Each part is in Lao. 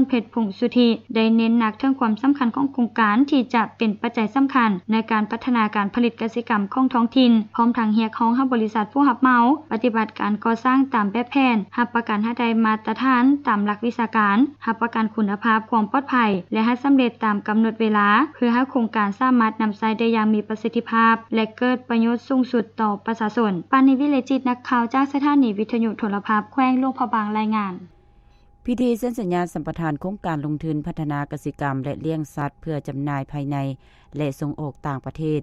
ເພັດ ພົງສຸທິ ໄດ້ເນັ້ນໜັກເຖິງຄວາມສຳຄັນຂອງໂຄງການທີ່ຈະເປັນປັດໄຈສຳຄັນໃນການພັດທະນາການຜະລິດກະສິກຳຂອງທ້ອງຖິ່ນ, ພ້ອມທັງຮຽກຮ້ອງໃຫ້ບໍລິສັດຜູ້ຮັບເໝົາປະຕິບັດການກໍ່ສ້າງຕາມແບບແຜນ, ຮັບປະກັນໃຫ້ໄດ້ມາດຕະຖານຕາມຫຼັກວິຊາການ, ຮັບປະກັນຄຸນນະພາບຄວາມປອດໄພ ແລະ ໃຫ້ສຳເລັດຕາມກຳນົດເວລາ, ເພື່ອໃຫ້ໂຄງການສາມາດນຳໃຊ້ໄດ້ຢ່າງມີປະສິດທິພາບ ແລະ ເກີດປະໂຫຍດສູງສຸດຕໍ່ປະຊາຊົນ. ປານີ ວິເລຈິດ ນັກຂ່າວຈາກສະຖານີວິທະຍຸໂທລະພາບແຂວງຫຼວງພະບາງ ລາຍງານ. ພິທີເຊັນສັນຍາສຳປະທານໂຄງການລົງທຶນພັດທະນາກະສິກຳ ແລະ ລ້ຽງສັດ ເພື່ອຈຳໜ່າຍພາຍໃນ ແລະ ສົ່ງອອກຕ່າງປະເທດ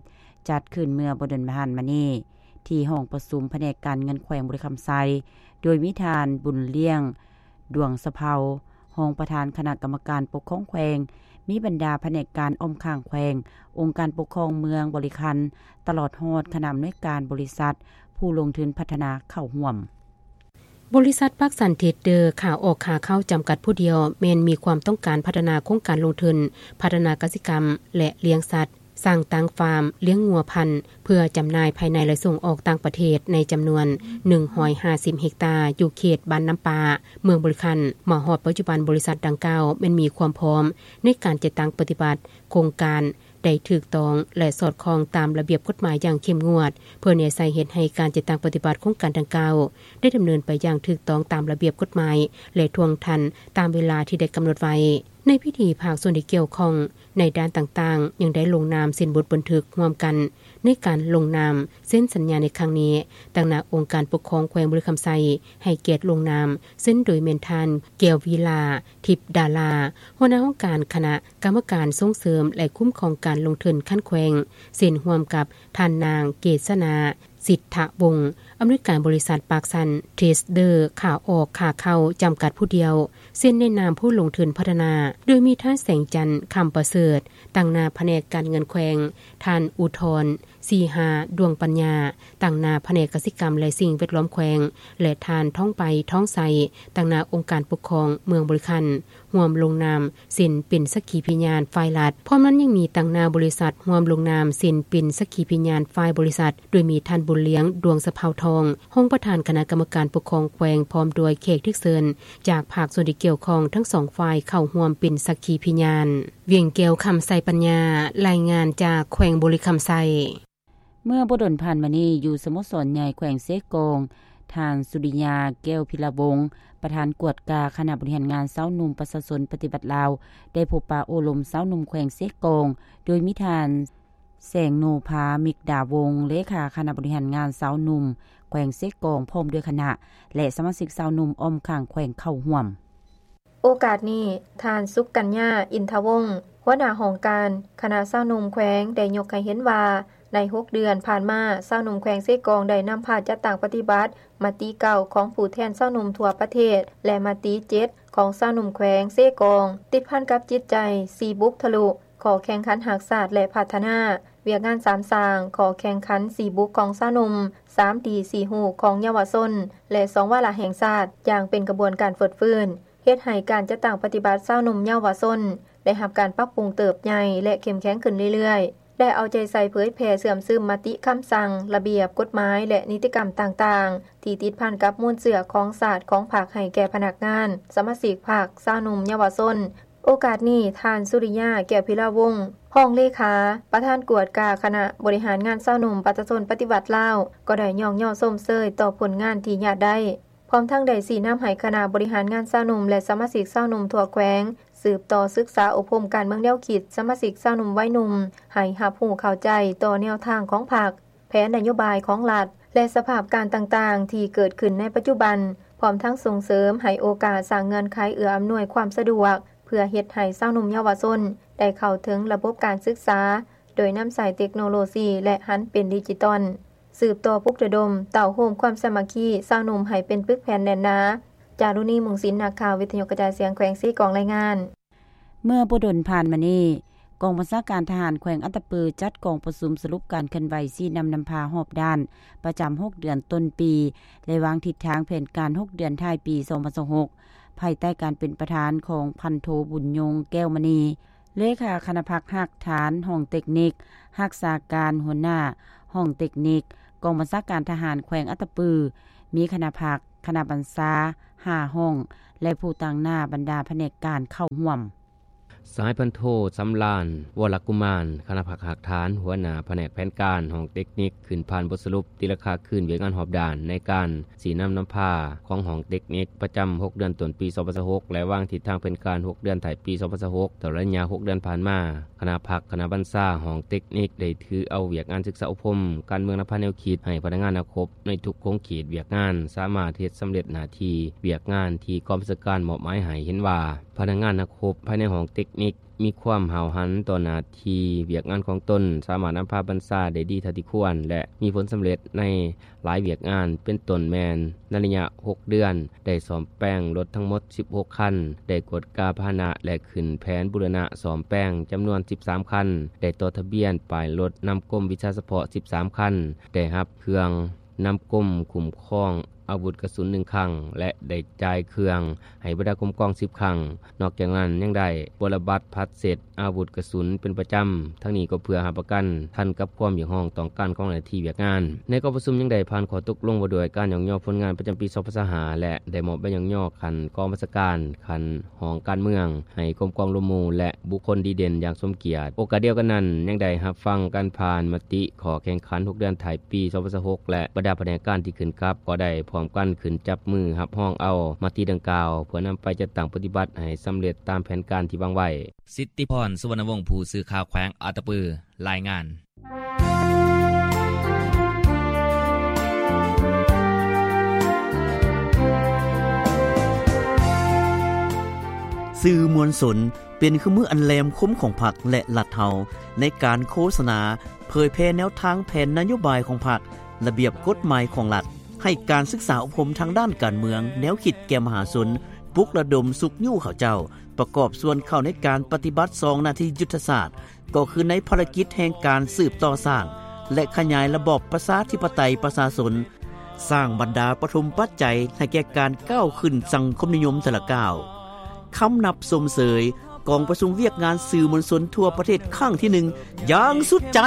ຈັດຂຶ້ນເມື່ອບໍ່ດົນຜ່ານມານີ້ ທີ່ຫ້ອງປະຊຸມພະແນກການເງິນແຂວງບໍລິຄຳໄຊ, ໂດຍມີທ່ານ ບຸນລ້ຽງ ດວງສະເພົາ ຮອງປະທານຄະນະກຳມະການປົກຄອງແຂວງ, ມີບັນດາພະແນກການອ້ອມຂ້າງແຂວງ, ອົງການປົກຄອງເມືອງບໍລິຄັນ, ຕະຫຼອດຮອດຄະນະອຳນວຍການບໍລິສັດຜູ້ລົງທຶນພັດທະນາເຂົ້າຮ່ວມ. ບໍລິສັດປາກຊັນເທຣດເດີ ຂາອອກຂາເຂົ້າຈຳກັດຜູ້ດຽວ ແມ່ນມີຄວາມຕ້ອງການພັດທະນາໂຄງການລົງທຶນ ພັດທະນາກະສິກຳ ແລະ ລ້ຽງສັດ, ສ້າງຕັ້ງຟາມ, ລ້ຽງງົວພັນ ເພື່ອຈຳໜ່າຍພາຍໃນ ແລະ ສົ່ງອອກຕ່າງປະເທດ ໃນຈຳນວນໜຶ່ງຮ້ອຍຫ້າສິບເຮັກຕາ ຢູ່ເຂດບ້ານນ້ຳປາ ເມືອງບໍລິຄັນ. ມາຮອດປັດຈຸບັນ ບໍລິສັດດັ່ງກ່າວແມ່ນມີຄວາມພ້ອມໃນການຈັດຕັ້ງປະຕິບັດໂຄງການ ໄດ້ຖືກຕ້ອງ ແລະ ສອດຄ່ອງຕາມລະບຽບກົດໝາຍຢ່າງເຂັ້ມງວດ ເພື່ອແນໃສ່ເຮັດໃຫ້ການຈັດຕັ້ງປະຕິບັດໂຄງການດັ່ງກ່າວ ໄດ້ດຳເນີນໄປຢ່າງຖືກຕ້ອງຕາມລະບຽບກົດໝາຍ ແລະ ທ່ວງທັນຕາມເວລາທີ່ໄດ້ກຳນົດໄວ້. ໃນພິທີ ພາກສ່ວນທີ່ກ່ຽວຂ້ອງໃນດ້ານຕ່າງໆ ຍັງໄດ້ລົງນາມເຊັນບົດບັນທຶກຮ່ວມກັນ ໃນການລົງນາມເຊັນສັນຍາໃນຄັ້ງນີ້ ຕາງໜ້າອົງການປົກຄອງແຂວງບໍລິຄຳໄຊ ໃຫ້ກຽດລົງນາມເຊັນໂດຍແມ່ນທ່ານ ແກ້ວວິລາ ທິບດາລາ ຫົວໜ້າຫ້ອງການຄະນະກຳມະການສົ່ງເສີມ ແລະ ຄຸ້ມຄອງການລົງທຶນຂັ້ນແຂວງ, ເຊັນຮ່ວມກັບທ່ານນາງ ເກດສະໜາ ສິດທະວົງ ອຳນວຍການບໍລິສັດປາກຊັນເທຣດເດີ ຂາອອກຂາເຂົ້າຈຳກັດຜູ້ດຽວ, ເຊັນໃນນາມຜູ້ລົງທຶນພັດທະນາ, ໂດຍມີທ່ານ ແສງຈັນ ຄຳປະເສີດ ຕາງໜ້າພະແນກການເງິນແຂວງ, ທ່ານ ອຸທອນ ສີຫາ ດວງປັນຍາ ຕາງໜ້າພະແນກກະສິກຳ ແລະ ສິ່ງແວດລ້ອມແຂວງ ແລະ ທ່ານ ທອງໄປ ທອງໄຊ ຕາງໜ້າອົງການປົກຄອງເມືອງບໍລິຄັນ ຮ່ວມລົງນາມເຊັນເປັນສັກຂີພິຍານຝ່າຍລັດ. ພ້ອມນັ້ນຍັງມີຕາງໜ້າບໍລິສັດຮ່ວມລົງນາມເຊັນເປັນສັກຂີພິຍານຝ່າຍບໍລິສັດ, ໂດຍມີທ່ານ ບຸນລ້ຽງ ດວງສະເພົາທອງ ຮອງປະທານຄະນະກຳມະການປົກຄອງແຂວງ ພ້ອມດ້ວຍແຂກຖືກເຊີນຈາກພາກສ່ວນທີ່ກ່ຽວຂ້ອງທັງສອງຝ່າຍເຂົ້າຮ່ວມເປັນສັກຂີພິຍານ. ວຽງແກ້ວ ຄຳໄຊປັນຍາ ລາຍງານຈາກແຂວງບໍລິຄຳໄຊ. ເມື່ອບໍ່ດົນຜ່ານມານີ້ ຢູ່ສະໂມສອນໃຫຍ່ແຂວງເຊກອງ, ທ່ານ ສຸລິຍາ ແກ້ວພິລະວົງ ປະທານກວດກາຄະນະບໍລິຫານງານຊາວໜຸ່ມປະຊາຊົນປະຕິວັດລາວ ໄດ້ພົບປະໂອ້ລົມຊາວໜຸ່ມແຂວງເຊກອງ, ໂດຍມີທ່ານ ແສງໂນພາ ມິກດາວົງ ເລຂາຄະນະບໍລິຫານງານຊາວໜຸ່ມແຂວງເຊກອງ ພ້ອມດ້ວຍຄະນະ ແລະ ສະມາຊິກຊາວໜຸ່ມອ້ອມຂ້າງແຂວງເຂົ້າຮ່ວມ. ໂອກາດນີ້, ທ່ານ ສຸກກັນຍາ ອິນທະວົງ ຫົວໜ້າຫ້ອງການຄະນະຊາວໜຸ່ມແຂວງ ໄດ້ຍົກໃຫ້ເຫັນວ່າ ໃນຫົກເດືອນຜ່ານມາ, ຊາວໜຸ່ມແຂວງເຊກອງໄດ້ນຳພາຈັດຕັ້ງປະຕິບັດມະຕິເກົ້າຂອງຜູ້ແທນຊາວໜຸ່ມທົ່ວປະເທດ ແລະ ມະຕິເຈັດຂອງຊາວໜຸ່ມແຂວງເຊກອງ, ຕິດພັນກັບຈິດໃຈສີ່ບຸກທະລຸ, ຂໍ້ແຂ່ງຂັນຮັກຊາດ ແລະ ພັດທະນາ, ວຽກງານສາມສ້າງ, ຂໍ້ແຂ່ງຂັນສີ່ບຸກຂອງຊາວໜຸ່ມ, ສາມດີສີ່ຮູ້ຂອງເຍົາວະຊົນ ແລະ ສອງວາລະແຫ່ງຊາດ, ຢ່າງເປັນຂະບວນການຟົດຟື້ນ. ເຮັດໃຫ້ການຈັດຕັ້ງປະຕິບັດຊາວໜຸ່ມເຍົາວະຊົນ ໄດ້ຮັບການປັບປຸງເຕີບໃຫຍ່ ແລະ ເຂັ້ມແຂງຂຶ້ນເລື້ອຍໆ, ໄດ້ເອົາໃຈໃສ່ເຜີຍແຜ່ເຊື່ອມຊຶມມະຕິ, ຄຳສັ່ງ, ລະບຽບ, ກົດໝາຍ ແລະ ນິຕິກຳຕ່າງໆ ທີ່ຕິດພັນກັບມູນເຊື້ອຂອງຊາດ, ຂອງພັກ ໃຫ້ແກ່ພະນັກງານ, ສະມາຊິກພັກ, ຊາວໜຸ່ມເຍົາວະຊົນ. ໂອກາດນີ້, ທ່ານ ສຸລິຍາ ແກ້ວພິລະວົງ ຮອງເລຂາ ປະທານກວດກາຄະນະບໍລິຫານງານຊາວໜຸ່ມປະຊາຊົນປະຕິວັດລາວ ກໍໄດ້ຍ້ອງຍໍຊົມເຊີຍຕໍ່ຜົນງານທີ່ຍາດໄດ້. ພ້ອມທັງໄດ້ຊີ້ນຳໃຫ້ຄະນະບໍລິຫານງານຊາວໜຸ່ມ ແລະ ສະມາຊິກຊາວໜຸ່ມທົ່ວແຂວງ ສືບຕໍ່ສຶກສາອົບຮົມການເມືອງແນວຄິດສະມາຊິກຊາວໜຸ່ມໄວໜຸ່ມ ໃຫ້ຮັບຮູ້ເຂົ້າໃຈຕໍ່ແນວທາງຂອງພັກ, ແຜນນະໂຍບາຍຂອງລັດ ແລະ ສະພາບການຕ່າງໆທີ່ເກີດຂຶ້ນໃນປັດຈຸບັນ, ພ້ອມທັງສົ່ງເສີມໃຫ້ໂອກາດສ້າງເງື່ອນໄຂເອື້ອອຳນວຍຄວາມສະດວກ ເພື່ອເຮັດໃຫ້ຊາວໜຸ່ມເຍົາວະຊົນໄດ້ເຂົ້າເຖິງລະບົບການສຶກສາ ໂດຍນຳໃຊ້ເຕັກໂນໂລຊີ ແລະ ຫັນເປັນດິຈິຕອນ. ສືບຕໍ່ປຸກລະດົມເຕົ້າໂຮມຄວາມສາມັກຄີຊາວໜຸ່ມໃຫ້ເປັນປຶກແຜ່ນແໜ້ນໜາ. ຈາລຸນີ ມຸງສິນ ນັກຂ່າວວິທະຍຸກະຈາຍສຽງແຂວງເຊກອງລາຍງານ. ເມື່ອບໍ່ດົນຜ່ານມານີ້, ກອງບັນຊາການທະຫານແຂວງອັດຕະປື ຈັດກອງປະຊຸມສະຫຼຸບການເຄື່ອນໄຫວຊີ້ນຳນຳພາຮອບດ້ານ ປະຈຳຫົກເດືອນຕົ້ນປີ ແລະ ວາງທິດທາງແຜນການຫົກເດືອນທ້າຍປີສອງພັນຊາວຫົກ ພາຍໃຕ້ການເປັນປະທານຂອງພັນໂທ ບຸນຍົງ ແກ້ວມະນີ ເລຂາຄະນະພັກຮາກຖານຫ້ອງເຕັກນິກ, ຮັກສາການຫົວໜ້າຫ້ອງເຕັກນິກ ກອງບັນຊາການທະຫານແຂວງອັດຕະປື, ມີຄະນະພັກ ຄະນະບັນຊາ ຫ້າຫ້ອງ ແລະ ຜູ້ຕາງໜ້າບັນດາພະແນກການເຂົ້າຮ່ວມ. ສະຫາຍພັນໂທ ສຳລານ ວໍລະກຸມານ ຄະນະພັກຮາກຖານ ຫົວໜ້າພະແນກແຜນການຫ້ອງເຕັກນິກ ຂຶ້ນຜ່ານບົດສະຫຼຸບຕີລາຄາຄືນວຽກງານຮອບດ້ານ ໃນການຊີ້ນຳນຳພາຂອງຫ້ອງເຕັກນິກປະຈຳຫົກເດືອນຕົ້ນປີສອງພັນຊາວຫົກ ແລະ ວາງທິດທາງແຜນການຫົກເດືອນທ້າຍປີສອງພັນຊາວຫົກ. ຕະຫຼອດໄລຍະຫົກເດືອນຜ່ານມາ, ຄະນະພັກຄະນະບັນຊາຫ້ອງເຕັກນິກ ໄດ້ຖືເອົາວຽກງານສຶກສາອົບຮົມການເມືອງນຳພາແນວຄິດ ໃຫ້ພະນັກງານນັກຮົບໃນທຸກຂົງເຂດວຽກງານ ສາມາດເຮັດສຳເລັດໜ້າທີ່ວຽກງານທີ່ກອງບັນຊາການມອບໝາຍໃຫ້. ເຫັນວ່າພະນັກງານນັກຮົບພາຍໃນຫ້ອງເຕັກນິກ ມີຄວາມຫ້າວຫັນຕໍ່ໜ້າທີ່ວຽກງານຂອງຕົນ, ສາມາດນຳພາບັນຊາໄດ້ດີເທົ່າທີ່ຄວນ ແລະ ມີຜົນສຳເລັດໃນຫຼາຍວຽກງານ ເປັນຕົ້ນແມ່ນໃນໄລຍະຫົກເດືອນ ໄດ້ສ້ອມແປງລົດທັງໝົດສິບຫົກຄັນ, ໄດ້ກວດກາພາຫະນະ ແລະ ຂຶ້ນແຜນບູລະນະສ້ອມແປງຈຳນວນສິບສາມຄັນ, ໄດ້ຕໍ່ທະບຽນປ້າຍລົດນຳກົມວິຊາສະເພາະສິບສາມຄັນ, ໄດ້ຮັບເຄື່ອງ ນຳກົມຄຸ້ມຄອງອາວຸດກະສຸນໜຶ່ງຄັ້ງ ແລະ ໄດ້ຈ່າຍເຄື່ອງໃຫ້ບັນດາກົມກອງສິບຄັ້ງ. ນອກຈາກນັ້ນຍັງໄດ້ບົວລະບັດຜັດເຊັດອາວຸດກະສຸນເປັນປະຈຳ, ທັງນີ້ກໍເພື່ອຮັບປະກັນທັນກັບຄວາມຮຽກຮ້ອງຕ້ອງການຂອງໜ້າທີ່ວຽກງານ. ໃນກອງປະຊຸມຍັງໄດ້ຜ່ານຂໍ້ຕົກລົງວ່າດ້ວຍການຍ້ອງຍໍຜົນງານປະຈຳປີສອງພັນຊາວຫ້າ ແລະ ໄດ້ມອບໃບຍ້ອງຍໍຂັ້ນກອງບັນຊາການ, ຂັ້ນ ຫ້ອງການເມືອງໃຫ້ກົມກອງລວມໝູ່ ແລະ ບຸກຄົນດີເດັ່ນຢ່າງສົມກຽດ. ໂອກາດດຽວກັນນັ້ນ ຍັງໄດ້ຮັບຟັງການຜ່ານມະຕິຂໍ້ແຂ່ງຂັນຫົກເດືອນທ້າຍປີສອງພັນຊາວຫົກ ແລະ ບັນດາພະແນກການທີ່ຂຶ້ນກັບ ກໍໄດ້ພ້ອມກັນຂຶ້ນຈັບມືຮັບຮອງເອົາມະຕິດັ່ງກ່າວ ເພື່ອນຳໄປຈັດຕັ້ງປະຕິບັດໃຫ້ສຳເລັດຕາມແຜນການທີ່ວາງໄວ້. ສິດທິພອນ ສຸວັນນະວົງ ຜູ້ສື່ຂ່າວແຂວງອັດຕະປື ລາຍງານ. ສື່ມວນຊົນເປັນເຄື່ອງມືອັນແຫຼມຄົມຂອງພັກ ແລະ ລັດເຮົາ ໃນການໂຄສະນາ, ເຜີຍແຜ່ແນວທາງແຜນນະໂຍບາຍຂອງພັກ, ລະບຽບກົດໝາຍຂອງລັດ, ໃຫ້ການສຶກສາອົບຮົມທາງດ້ານການເມືອງ, ແນວຄິດແກ່ມະຫາຊົນ, ປຸກລະດົມຊຸກຍູ້ເຂົາເຈົ້າ ປະກອບສ່ວນເຂົ້າໃນການປະຕິບັດສອງໜ້າທີ່ຍຸດທະສາດ ກໍຄືໃນພາລະກິດແຫ່ງການສືບຕໍ່ສ້າງ ແລະ ຂະຫຍາຍລະບອບປະຊາທິປະໄຕປະຊາຊົນ, ສ້າງບັນດາປະຖົມປັດໄຈໃຫ້ແກ່ການກ້າວຂຶ້ນສັງຄົມນິຍົມແຕ່ລະກ້າວ. ຄຳນັບຊົມເຊີຍກອງປະຊຸມວຽກງານສື່ມວນຊົນທົ່ວປະເທດຄັ້ງທີໜຶ່ງຢ່າງສຸດໃຈ.